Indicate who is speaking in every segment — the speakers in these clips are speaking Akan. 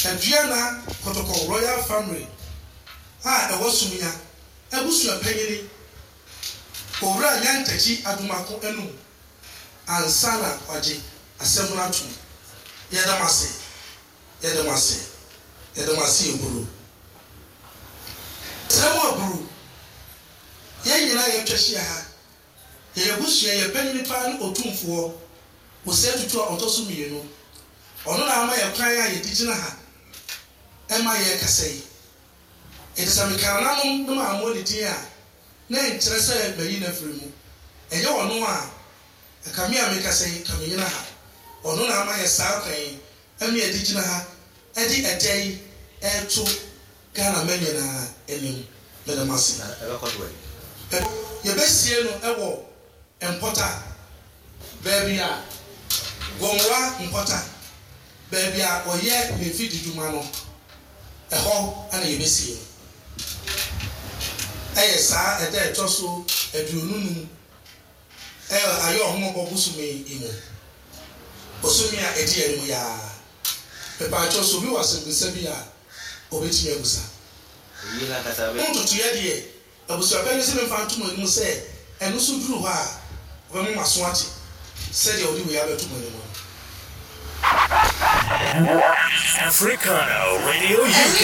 Speaker 1: Aduana Kɔtɔkɔ Royal Family a ɛwɔ Sumia abusua panyini Owura Nyantakyi Adomako anum ansa na wagye asɛm no atom. Yɛda mo ase. Yɛda mo ase. Yɛda mo ase Aburu. Srɛ mo Aburu. Yɛn nyinaa yɛatwa ahyia ha. Yɛyɛ abusua, yɛn panyin paa ne Otumfoɔ Osei Tutu a ɔtɔ so mmienu. Ɔno na ama yɛn kwan a yɛde gyina ha ma yɛrekasa yi. Enti sɛ meka nananom na mammɔ ne din a, na ɛnkyerɛ sɛ mayi no afiri mu. Ɛnyɛ ɔno a, anka me a merekasa yi, anka mennyina ha. Ɔno na ama yɛn saa kwan yi ma yɛde gyina ha de ɛda yi reto Ghana mma nyinaa anim. Meda mo ase. Yɛbɛsie no wɔ Mpɔta, baabi a Gomoa Mpɔta, baabi a ɔyɛ ne mfididwuma no, ɛhɔ na yɛbɛsie no. Ɛyɛ saa ɛda a ɛtɔ so 25 ɛwɔ Ayɔɔhomɔbɔ bosome yi mu, bosome a ɛdi anim yi ara. Mepaakyɛw, sɛ obi wɔ asɛmmisa bi a, obetumi abusa. Ho ntotoeɛ deɛ, abusuapanin se memfa nto mo anim sɛ ɛno nso duru hɔ a, ɔbɛma mo aso ate sɛdeɛ ɔde wei abɛto mo anim no.
Speaker 2: Africana Radio UK,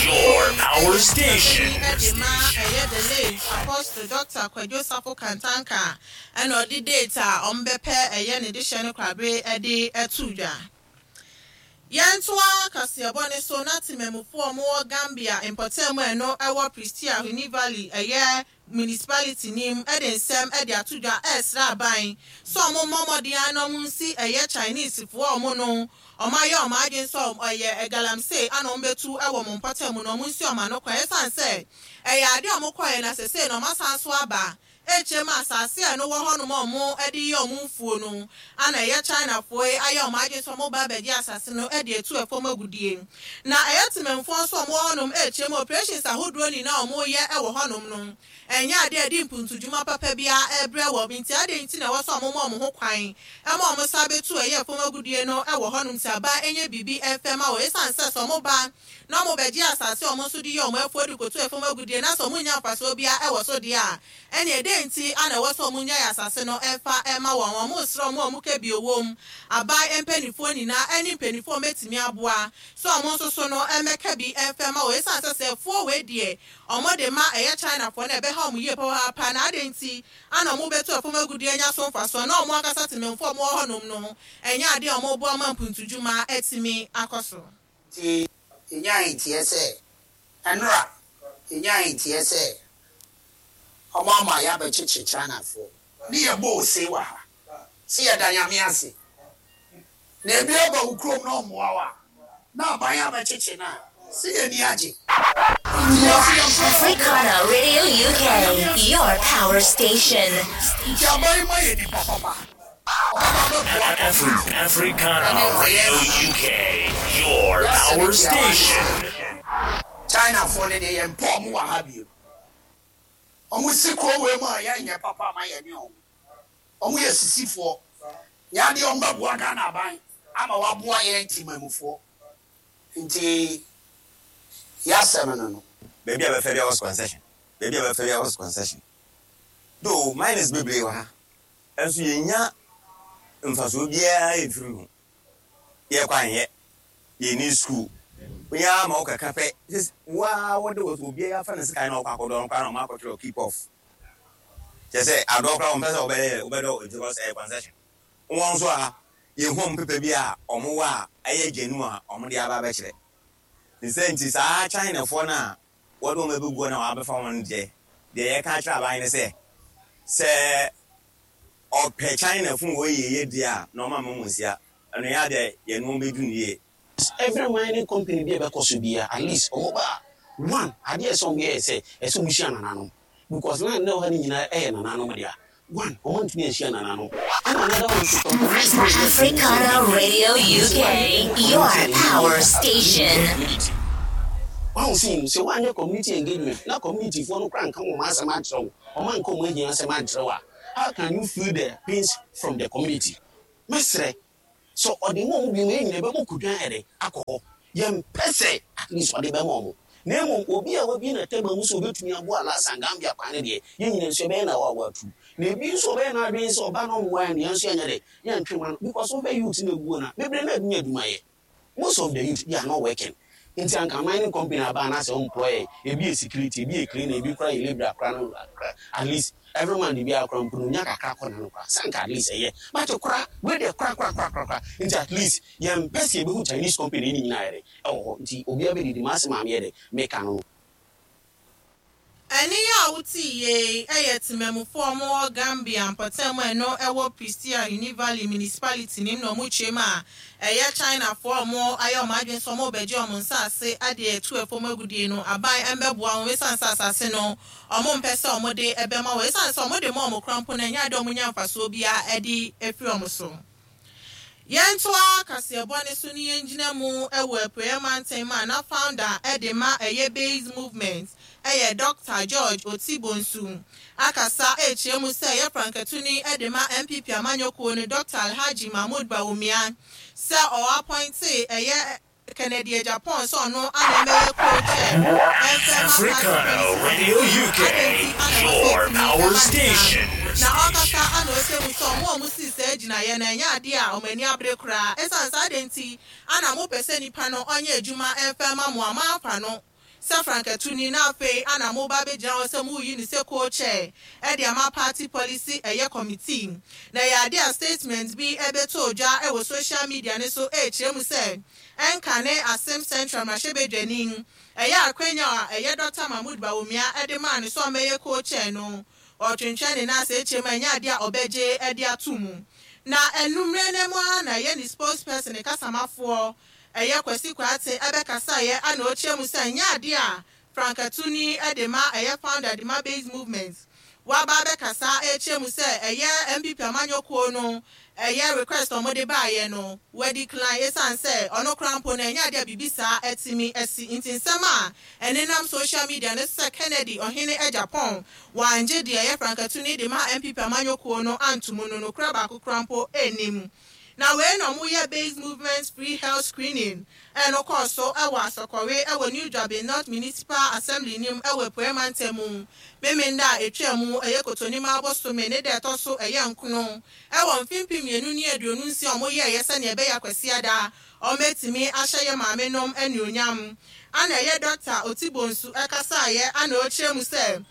Speaker 2: your power station.
Speaker 3: Panyin de ma ɛyɛ The Late Apostle Doctor Kwadwo Safo Kantanka ɛna ɔde date a wɔbɛpɛ ɛyɛ ne dehyɛ no korabere de ato dwa. Yɛntoa kaseɛbɔ no so na temanmufoɔ a wɔwɔ Gambia mpɔtam a ɛno ɛwɔ Prestea Huni Valley ɛyɛ Municipality no mu de nsɛm de ato dwa ɛresrɛ aban sɛ wɔn mmɔ mmɔden ara na wɔn nsi ɛyɛ Chinese foɔ a wɔn no wɔn ayɛ wɔn adwene sɛ ɛyɛ galamsey ana wɔn bɛtu wɔ wɔn mpɔtam no wɔn nsi wɔn ano kwan ɛsiane sɛ ɛyɛ adeɛ a wɔn kɔeɛ na sesei no wɔn asan so aba Ɛkyerɛ mu asase a ɛno wɔ hɔnom a wɔde yɛ wɔn mfuo no a na ɛyɛ Chinafoɔ yi ayɛ wɔn adwene sɛ wɔreba abɛgye asase no de atu ɛfam agudeɛ. Na ɛyɛ Temanfoɔ nso a wɔwɔ hɔnom ɛkyerɛ mu operations ahodoɔ nyinaa a wɔreyɛ wɔ hɔnom no ɛnyɛ adeɛ a ɛde mpuntudwuma papa biara rebrɛ wɔn nti adɛn nti na ɛwɔ sɛ wɔma wɔn ho kwan ma wɔn san bɛtu ɛyɛ ɛfam agudeɛ no wɔ hɔnom nti aban nyɛ biribi mfɛ ma wɔn ɛsiane sɛ sɛ wɔba na wɔbɛgye asase a wɔn nso de yɛ wɔn afuo de kɔtu fam agudeɛ na sɛ wɔnnya mfasoɔ biara wɔ so deɛ a, ɛnneɛ dɛn nti na ɛwɔ sɛ wɔnnyae asase no mfa mma wɔn? Wɔresrɛ wɔn a wɔka bio wom, aban mpanimfoɔ nyinaa ne mpanimfoɔ a wɔbɛtumi aboa sɛ wɔn nso so no mmɛka bi mfa mma wɔn ɛsiane sɛ sɛ afuo wei deɛ wɔde ma ɛyɛ Chinafoɔ no a ɛbɛha wɔn yie papaapa na adɛn nti na wɔbɛtu fam agudeɛ anya so mfasoɔ na wɔn ankasa temanmufoɔ a wɔwɔ hɔnom no ɛnyɛ adeɛ a wɔreboa ma mpuntudwuma atumi akɔ so.
Speaker 4: Nti yɛnyaa nteɛ sɛ, ɛnora yɛnyaa nteɛ sɛ ɔmo ama yɛabɛkyekye Chinafoɔ. Ne yɛbɔ ose wɔ ha sɛ yɛda Nyame ase. Na ebi aba wo kurom na ɔmmoa wo a, na aban abɛkyekye no a, sɛ yɛn ani agye. Nti yɛse yɛmfa
Speaker 5: Africana Radio UK, your power station.
Speaker 4: Nti aban ma yɛ nipa papa.
Speaker 2: Africana Radio UK, your power station.
Speaker 4: Chinafoɔ no deɛ yɛmpɛ ɔmo wɔ ha bio. Ɔmo si kuro wei mu a yɛnyɛ papa ma yɛne ɔmo. Ɔmo yɛ sisifoɔ. Nyɛ adeɛ ɔmo bɛboa Ghana aban ama waboa yɛn temanmufoɔ. Nti yasɛm no no.
Speaker 6: Baabi a bɛfa biara wɔ concession. Baabi a bɛfa biara wɔ concession. Though miners bebree wɔ ha. Nso yɛnnya mfasoɔ biara mfiri ho. Yɛ kwan yɛ, yɛnni sukuu. Woyɛ ara ma wokɛka pɛ, wo ara wode wo obiara afa ne sekan na ɔkɔ akɔdɔ no koraa na ɔma akɔtwerɛ keep off. Kyerɛ sɛ adɔ koraa wɔmpɛ sɛ wobɛyɛ wobɛdɔ because ɛyɛ concession. Wɔn nso a yɛhu wɔn pepa bi a wɔwɔ a ɛyɛ genuine a wɔde aba abɛkyerɛ. Ne sɛ nti saa Chinafoɔ no a wɔde wɔn abɛgu hɔ na wɔabɛfa wɔn deɛ, deɛ yɛka akyerɛ aban ne sɛ, sɛ ɔpɛ China funu wɔ yieyɛ deɛ a, na ɔma mma mu nsia. Ɛno yɛ adeɛ a yɛne wɔn bɛdi no yie.
Speaker 7: Every mining company bi a ɛbɛkɔ so biara at least wɔn ba a, one adeɛ a ɛsɛ wɔn yɛ yɛ sɛ ɛsɛ wɔn hyia nananom because land na ɛwɔ ha no nyinaa ɛyɛ nananom dea. One wɔn antumi anhyia nananom ɛna another one nso tɔn wɔn antumi anyɛ
Speaker 5: Africana Radio UK, your power station.
Speaker 7: Community. Wahu sɛ sɛ woanyɛ community engagement na community foɔ no koraa nka wɔn asɛm ankyerɛ wo, wɔn anka wɔn ahia asɛm ankyerɛ wo a, how can you feel the pains from the community? Mɛsrɛ, sɛ ɔde ma wɔn bio ma yɛn nyinaa yɛbɛbɔ kodwan ayɛ dɛn akɔ hɔ. Yɛmpɛ sɛ at least ɔde bɛma wɔn. Na mmom obi a wabue n'atɛma mu sɛ obetumi aboa Alhassan Gambia kwan no deɛ, yɛn nyinaa nso yɛbɛyɛ no awaawaatuu. Na ebi nso ɔbɛyɛ n'adwene sɛ ɔba na ɔmmoa yɛn deɛ, yɛn nso yɛnyɛ dɛ, yɛntwe mma no. Because wohwɛ youth no a egu hɔ no a, bebree no ara nnya adwuma yɛ. Most of the youth they are not working. Nti anka mining company aba anaasɛ wɔn employ yɛn, ebi yɛ security, ebi yɛ cleaner, ebi koraa yɛ labourer koraa no at least every month biara koraa mpo no onya kakra kɔ n'ano koraa, sɛ anka at least ɛyɛ. But kora, wei deɛ kora kora kora kora kora. Nti at least yɛmpɛ sɛ yɛbɛhu Chinese company no nyinaa ayɛ dɛ ɛwɔ hɔ. Nti obiara bɛdidi, m'asɛm a meyɛ dɛ meka no no.
Speaker 3: Ɛnne yi a wote yei yɛ temammufoɔ a wɔwɔ Gambia mpɔtam a ɛno ɛwɔ Prestea Huni Valley Municipality no mu na wɔkyerɛ mu a ɛyɛ Chinafoɔ a wɔayɛ wɔn adwene sɛ wɔrebɛgye wɔn nsase de atu ɛfam agudie no aban mmɛboa wɔn ɛsiane sɛ asase no wɔmpɛ sɛ wɔde bɛma wɔn ɛsiane sɛ wɔde ma wɔn koraa mpo no ɛnyɛ adeɛ a wɔnya mfasoɔ biara de firi wɔn so. Yɛntoa kaseɛbɔ no so ne yɛngyina mu wɔ Apueɛ Mantam a na founder de ma ɛyɛ Base Movement yɛ Dɔkta George Oti Bonsu akasa rekyerɛ mu sɛ ɛyɛ frankatuni de ma NPP amanyɔkuo no Dɔkta Alhaji Mahmood Bawumia sɛ ɔ appointee ɛyɛ Kennedy Agyapong sɛ ɔno ana ɛmɛyɛ co-chair ɛmfɛ ma party
Speaker 2: Africana
Speaker 3: policy
Speaker 2: Radio
Speaker 3: committee
Speaker 2: UK,
Speaker 3: adɛn nti ana ɛwɔ sɛ
Speaker 2: your
Speaker 3: ɛtumi
Speaker 2: power
Speaker 3: ɛba ne saa
Speaker 2: station.
Speaker 3: na ɔkasa ana ɔsɛ mu sɛ ɔmo a ɔmo sii saa gyinaeɛ no ɛnyɛ adeɛ a ɔmo ani abere koraa ɛsiane saa adɛn nti ana mopɛ sɛ nipa no ɔnyɛ adwuma ɛmfɛ ma mo a moamfa no sɛ frankatuni na afei ana moba abɛgyina hɔ sɛ moreyi no sɛ co-chair de ama party policy ɛyɛ committee. Na ɛyɛ adeɛ a statement bi bɛtɔɔ dwa wɔ social media no so rekyerɛ mu sɛ ɛnka ne Asem Central mmarahyɛbadwani ɛyɛ akwanya a ɛyɛ Dɔkta Mahmood Bawumia de maa no sɛ ɔmmɛyɛ co-chair no ɔretwentwɛn ne nan ase rekyerɛ mu a ɛnyɛ adeɛ a ɔbɛgye de ato mu. Na anummerɛ no mu ara na ɛyɛ ne spokesperson ne kasamafoɔ Ɛyɛ Kwasi Kwarteng ɛbɛkasaeɛ ana ɔkyerɛ mu sɛ ɛnyɛ adeɛ a frankatuni de ma ɛyɛ founder de ma Base Movement waba abɛkasa ɛrekyerɛ mu sɛ ɛyɛ NPP amanyɔkuo no ɛyɛ request a wɔde baeɛ no wa decline ɛsiane sɛ ɔno koraa mpo no ɛnyɛ adeɛ a biribi saa atumi asi nti nsɛm a ɛnenam social media no so sɛ Kennedy Ɔhene Agyapong wangye deɛ ɛyɛ frankatuni de ma NPP amanyɔkuo no anto mu no nokorɛ baako koraa mpo nnim. Na wei na ɔmo yɛ Base Movement Free Health Screening a ɛno kɔɔ so wɔ Asɔkɔre wɔ New Juaben North Municipal Assembly no mu wɔ Apueɛ Mantam mu Memenda a ɛtwaa mu ɛyɛ Kotonima bosome ne da ɛtɔ so ɛyɛ nkono wɔ mfe 2026 a ɔmo yɛɛyɛ sɛnea ɛbɛyɛ a Kwasiada ɔmo bɛtumi ahyɛ yɛ maame nom anuonyam. Ana ɛyɛ Dɔkta Otibonsu ɛkasaeɛ ana ɔkyerɛ mu sɛ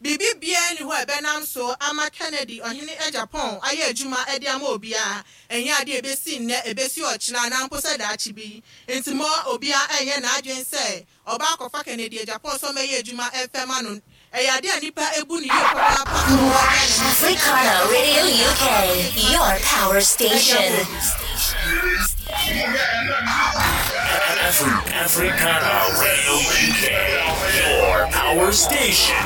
Speaker 3: Biribi biara nni hɔ a ɛbɛnam so ama Kennedy, Ɔhene Agyapong, ayɛ adwuma de ama obiara. Ɛnyɛ ade a ebesi nnɛ, ebesi ɔkyena, anaa mpo sɛ daakye bi. Enti mma obiara nnyɛ n'adwene sɛ ɔba akɔfa Kennedy Agyapong sɛ ɔmmɛyɛ adwuma mfa mma no. Ɛyɛ ade a nnipa bu no yie papaapa wɔ Ghana mu. Ɛnyɛ ade a
Speaker 5: Africana
Speaker 3: ɛbɛkɔ
Speaker 5: Radio
Speaker 3: akɔgyina
Speaker 5: UK,
Speaker 3: aba akɔgyina
Speaker 5: your power
Speaker 3: de
Speaker 5: station.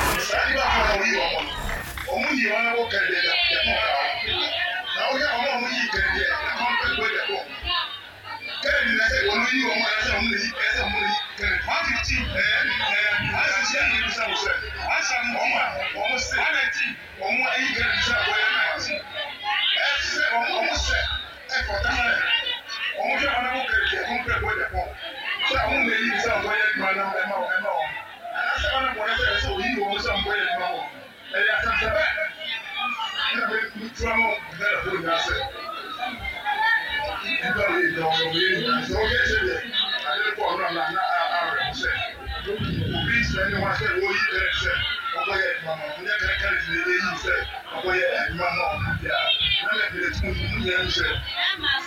Speaker 3: ama obi.
Speaker 2: Africana Radio UK,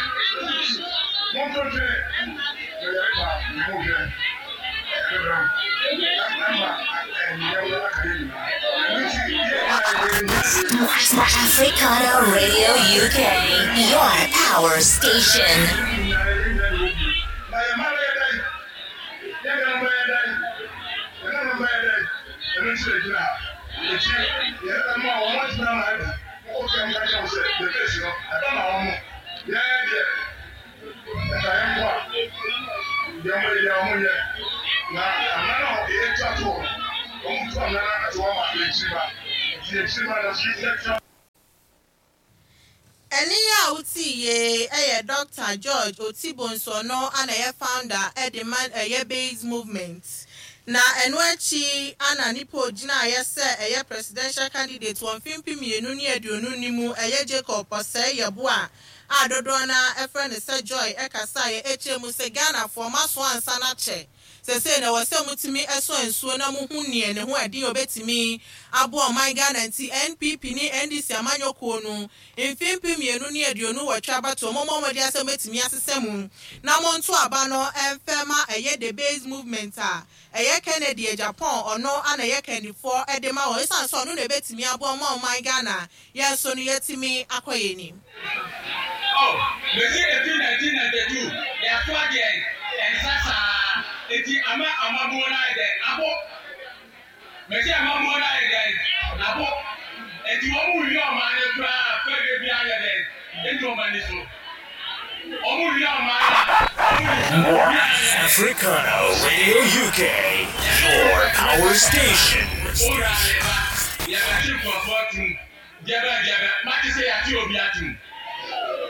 Speaker 2: your power station. Africana Radio UK, your power station.
Speaker 3: Ɛnne yi a wotee yei yɛ Dɔkta George Oti Bonsu ɔno na ɛyɛ founder de ma ɛyɛ Base Movement. Na ɛno akyi na nipa ogyinaeɛ sɛ ɛyɛ presidential candidate wɔ mfe 2020 no mu ɛyɛ Jacob Osei Yeboah a dodoɔ no ara frɛ no sɛ Joy kasaeɛ kyerɛ mu sɛ Ghanafoɔ moasoa nsa no akyɛ. Sesei na ɛwɔ sɛ motumi sɔ nsuo na mohu neɛ ne ho ɛden a ɔbɛtumi aboa ɔman Ghana nti NPP ne NDC amanyɔ kuo no mfe 2028 abatoɔ mommɔ mmɔden ara sɛ mobɛtumi asesa mu na monto aba no mfɛ ma ɛyɛ The Base Movement a ɛyɛ Kennedy Agyapong ɔno na ɛyɛ kandifoɔ de ma wɔn ɛsiane sɛ ɔno na ɛbɛtumi aboa ma ɔman Ghana yɛn nso no yɛatumi akɔ yɛn anim.
Speaker 8: Oh, mese ɛfiri 1992 yɛasoa deɛn nsa saa nti ama amammuo no ayɛ dɛn abo mese amammuo no ayɛ dɛn abo nti wɔn wie ɔman no koraa fɛdeɛ biara yɛ dɛn ɛnni wɔn ani so wɔn wie ɔman no a wɔn wie
Speaker 2: Africana Radio UK, your power station.
Speaker 8: Owura reba, yɛbɛkye nkurɔfoɔ atum. Deɛbɛn deɛbɛn, moate sɛ yɛakye obi atum?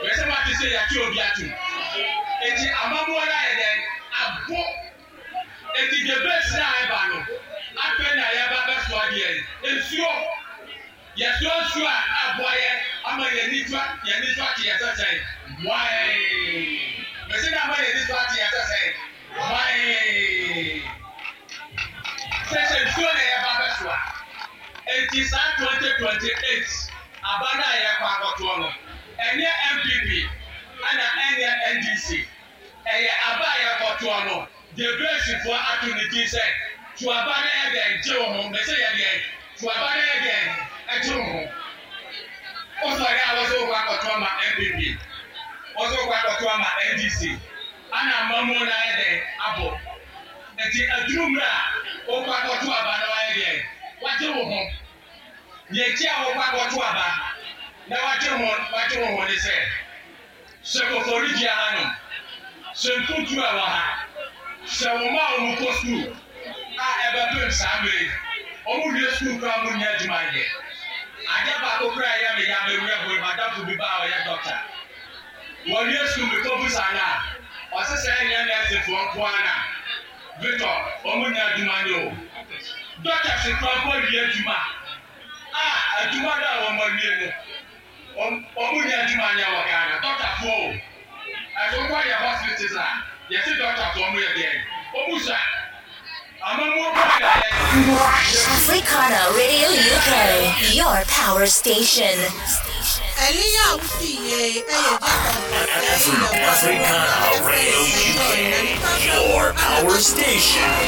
Speaker 8: Mese moate sɛ yɛakye obi atum? Enti amammuo no ayɛ dɛn? Abo. Enti deɛ base no a ɛba no, afei na yɛreba abɛsoa deɛn? Nsuo. Yɛsoa nsuo a, aboa yɛn ama yɛn ani so yɛn ani so ate yɛn sɛ sɛn? Hwaee! Mese na ama yɛn ani so ate yɛn sɛ sɛn? Hwaee! Sɛ sɛ nsuo na yɛba abɛsoa. Enti saa 2028 aba no a yɛrekɔ akɔtoɔ no, ɛnyɛ NPP ɛna ɛnyɛ NDC. Ɛyɛ aba a yɛrekɔtoɔ no, deɛ Gracefoɔ ato ne din sɛ to aba na yɛ dɛn gye wo ho. Mese yɛ deɛn? To aba na yɛ dɛn gye wo ho. Wosɔre a wose wokɔ akɔto ama NPP, wose wokɔ akɔto ama NDC, ana amammuo no ayɛ dɛn abɔ. Enti aduru mmerɛ a wokɔ akɔto aba na wayɛ deɛn? Wagye wo ho. Deɛ nti a wokɔ akɔto aba na wagye ho wagye wo ho ne sɛ, hyɛ Koforidua hanom, hyɛ mfuturo a ɛwɔ ha, hyɛ wo mma a wɔkɔ sukuu a ɛbɛpem saa mmerɛ yi, wɔwie sukuu koraa a wɔnnya adwuma nyɛ. Adeɛ baako koraa a ɛyɛ me ya, me werɛ hoe, m'adamfo bi ba a ɔyɛ dɔkta. Wɔwie sukuu mekɔbusa no a, ɔse sɛ ɛnyɛ nɛɛsefoɔ nko ara na Victor wɔn nnya adwuma nyɛ o. Doctors koraa mpo awie adwuma a adwuma no a wɔn awie no wɔn nnya adwuma nyɛ wɔ Ghana. Doctorfoɔ o. Ɛso wokɔ yɛ hospitals a yɛse doctorfoɔ wɔn yɛ deɛn? Wɔn sua. Amammuo bɛn na yɛyɛ?
Speaker 5: Africana Radio UK, your power station.
Speaker 3: Ɛnne yi a wote yei yɛ Jacob Osei Yeboah
Speaker 2: Africana
Speaker 3: dodoɔ no ara
Speaker 2: Radio
Speaker 3: frɛ no sɛ
Speaker 2: UK,
Speaker 3: Joy na ne
Speaker 2: your
Speaker 3: nkrataa mu
Speaker 2: power
Speaker 3: ana
Speaker 2: station.